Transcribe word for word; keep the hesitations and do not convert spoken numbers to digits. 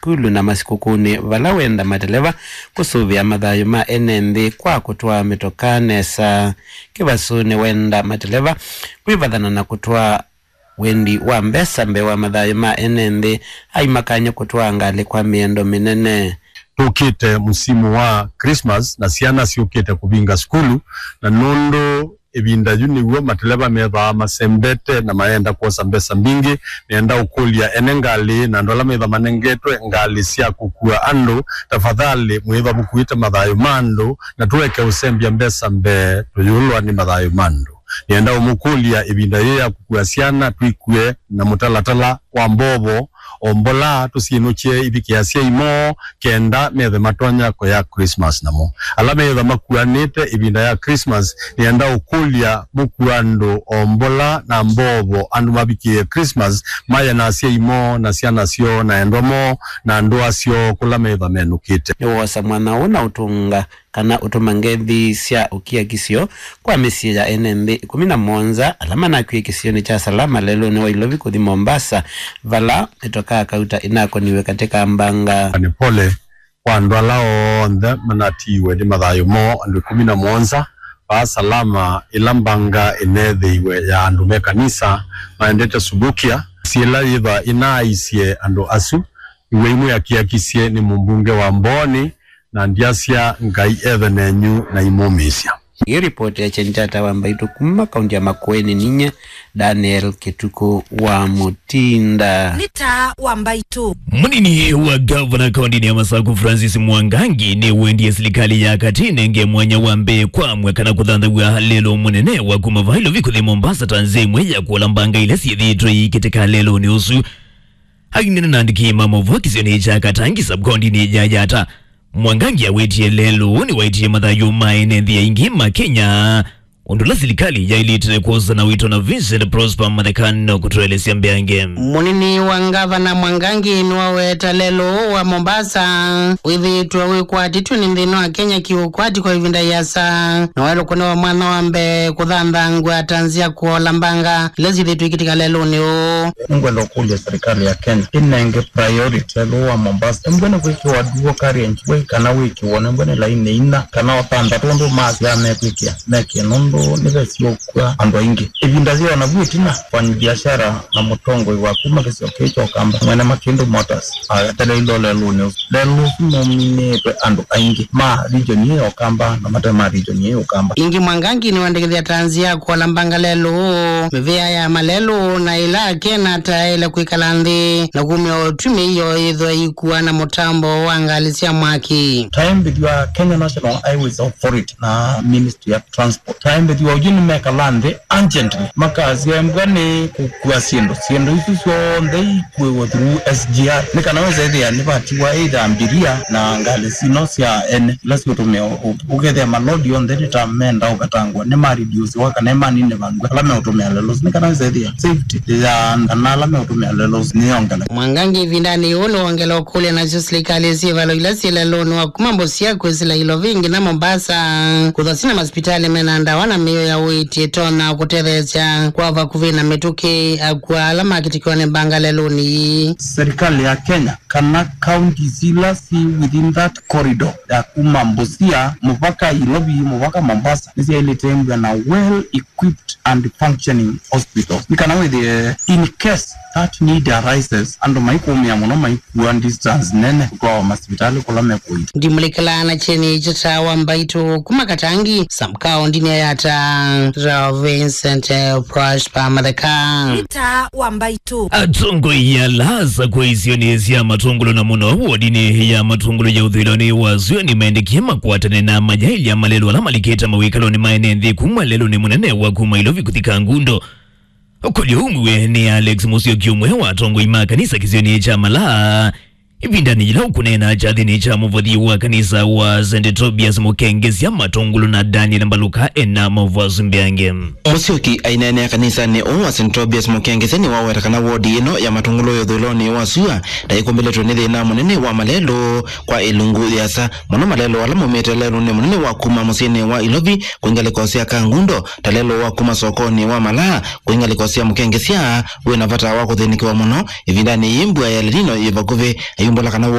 sukulu na masikũkũnĩ, vala wenda mateleva kũsũvĩa mathayũ ma ene nthĩ kwa kũtwaa mĩtokaa nesa. Kĩvasu nĩwenda mateleva kwĩvathana na kũtwaa wendi wa mbesa mbee wa mathayũ ma ene nthĩ, aimakany'a kũtwaa ngalĩ kwa mĩendo mĩnene. Tũkĩte musimu wa Christmas na syana syũkĩte kũvinga sukulu, na nũndũ ĩvinda yu nĩw'o mateleva methĩawa masembete na mayenda kwosa mbesa mbingĩ, nĩenda ũkũlya ene ngalĩ na andũ ala methĩawa manengetwe ngalĩ sya kũkua andũ, tafadhali mwĩthwa mũkuĩte mathayũ ma andũ, na tũeke ũsembya mbesa mbee tũyũlwa nĩ mathayũ ma andũ. Nĩenda ũmũkũlya ĩvinda yĩĩ ya kũkua syana twĩkue na mũtalatala wa mbovo, o mbola tũsyĩnũkye ivikĩe asyai moo kenda methe matonya kũya Christmas namo. Ala meĩtha makuanĩte ĩvinda ya Christmas, nĩenda ũkũlya mũkua andũ o mbola na mbovo andũ mavikĩe Christmas maye na asyai moo na syana syoo na endwa moo na ndũa syoo kũla meĩtha menũkĩte. Nĩwoosa mwanya ũũ na ũtũnga kana ũtũma ngethi sya ũkiakisyo kwa mĩsyĩ ya ene nthĩ ĩkũmi na mũonza ala manakwie kĩsionĩ kya Salama lelũnĩ wa Ilovi kũthi Mombasa, vala mĩtokaa kauta ĩnakoniwe katĩ ka mbanga. Nĩ pole kwa andũ ala onthe manatiiwe nĩ mathayũ moo, andũ ĩkũmi na mũonza vaa Salama, ĩla mbanga ĩneethĩiwe ya andũ me kanisa maendete Subukia. Syĩla yĩva ĩnaaisye andũ asu, iwe imwe akiakisye nĩ mũmbunge wa Mbooni, na ndyasya Ngai ethe nenyu na imũmĩĩsya. Ĩ ripoti ya Chenjata wa Mbaitũ kuma kaunti ya Makueni, ninye Daniel Kĩtukũ wa Mũtinda. Nĩ taa wa Mbaitũ. Mũnini wa gavana kaunti ya Masaku Francis Mwangangi nĩwendie silikalĩ ya katĩ ĩnenge mwanya wa mbee kwa amwe kana kũthanthaw'a lelũ mũnene wa kuma vaa Ilovi kũthi Mombasa ta nzĩa ĩmwe ya kũola mbanga ila syĩthĩĩtwe iikĩtĩka lelũnĩ ũsu. Aineena na andĩki ma maũvoo kĩsionĩ kya Katangi sub-kauntinĩ ya Yatta, Mwangangi awĩtie lelũ nĩwaĩtie mathayũ ma ene nthĩ aingĩ ma Kenya, ũndũ ũla silikalĩ yaĩlĩte kwosa na wĩto na Vincent Prosper Mathekano kũtũelesya mbeange. Mũnini wa ngavana Mwangangi nĩwaweta lelũ wa Mombasa wĩthĩĩtwe wĩkwatĩtw'e nĩ nthĩna wa Kenya kĩũkwati kwa ĩvinda yĩasa, na waĩlwe kũnewa mwanya wa mbee kũthanthangw'a ta nzĩa kũola mbanga ila syĩthĩĩtwe ikĩtĩka lelũnĩ ũũ. Nĩngwenda ũkũlya serikali ya Kenya ĩnenge priority lelũ wa Mombasa. Nĩngwenda kwĩkĩwa dual carriage way kana wĩkĩwe nĩngwenda laini ina kana o thanthatũ ũndũ masya mekwĩkĩa, mekĩe nũndũ nĩvesĩ ũkw'a andũ aingĩ. Ĩvinda yĩona vu ĩtina, mfanyibiashara na mũtongoi wa kuma kĩsio kĩĩ kya Ũkamba, mwene Makĩndũ Motors, aweteleiwe lelũnĩ ũsu. Lelũ ũsu nũminĩĩtwe andũ aingĩ ma region ĩĩ ya Ũkamba na mate ma region ĩĩ ya Ũkamba. Ĩngĩ Mwangangi nĩwendekethya ta nzĩa ya kũola mbanga lelũ, mĩvĩa ya malelũ na ĩla akena ta yaĩle kwĩkala nthĩ na kumya ũtwi mĩio yĩthwa ikuwa na mũtambo wa ngalĩ sya mwaki. Taembĩthw'a Kenya National Highways Authority na Ministry ya Transport. Taembĩthw'a ũyu nĩmekala nthĩ urgently makasya embwa nĩ kũkua syĩndũ. Syĩndũ isu syonthe ikuĩwe through S G R. Nĩ kana wĩsethĩa nĩvatiwa either mbiria na ngalĩ sino sya ene ila siũtũmĩa ũ-, ũkethĩa malodi onthe nĩ ta menda ũvetangwa nĩ ma reduce wa kana manine vandũ ala meũtũmĩa lelũ. Nĩ kana wĩsethĩa safety ya kana ala meũtũmĩa lelũ nĩyongela. Mwangangi ĩvindanĩ yĩu nĩwongela ũkũlya nasyo silikalĩ syĩvalo ila syĩ lelũnĩ wa kuma Busia kwĩsĩla Ilovi nginya Mombasa, kũthwa sina masipitalĩ mena ndawa na mĩio ya ũiiti ĩtonya kũtetheesya kwa vakuvĩ na mĩtũkĩ akw'a ala makĩtĩkĩwa nĩ mbanga lelũnĩ ii. Serikali ya Kenya kana counties ila si within that corridor ya kuma Busia mũvaka Ilovi mũvaka Mombasa nĩsyaĩlĩte mbwa na well equipped and functioning hospitals. Nĩ kana wĩthĩe, in case that need arises, andũ maikũmĩa mũno maikua distance nene kũtwawa masivitalĩ kũla mekũita. Ndimũlĩkĩlaa na kyeni kya taa wa Mbaitũ kuma Katangi, sub-kaũntinĩ ya Yatta, Vincent, eh, Prosper Matheka. Nĩ taa wa Mbaitũ. Atongoi ala asa kwa isionĩ sya Matũngũlũ na mũno wodinĩ ya Matũngũlũ ya ũthũĩlonĩ wa sua nĩmaendekie makwatane na mayaĩlya malelũ ala malikĩte mawĩkalonĩ ma ene nthĩ kuma lelũnĩ mũnene wa kuma Ilovi kũthi Kangundo. Ũkũlyo ũmwe nĩ Alex Musyoki, ũmwe wa atongoi ma kanisa kĩsionĩ kya Malaa, ĩvindanĩ yĩla ũkũneena kyathĩnĩ kya mũvothi wa kanisa wa Saint Tobias Mũkengesya Matũngũlũ na Daniel Mbaluka ena maũvoo asu mbeange. Musyoki aineenea kanisanĩ ũũ wa Saint Tobias Mũkengesya nĩwaweta kana wodi ĩno ya Matũngũlũ ya ũthũĩlonĩ wa sua ndaĩkũmbĩlĩtwe nĩ thĩna mũnene wa malelũ kwa ĩlungu yĩasa mũno, malelũ ala maumĩte lelũnĩ mũnene wa kuma mũsyĩnĩ wa Ilovi kwĩ ngalĩko sya Kangundo, ta lelũ wa kuma sokonĩ wa Malaa kwĩ ngalĩko sya Mũkengesya wĩ na vata wa kũthĩnĩkĩwa mũno ĩvindanĩ yĩĩ mbua ya El Nino yĩ vakuvĩ. Mbũla kana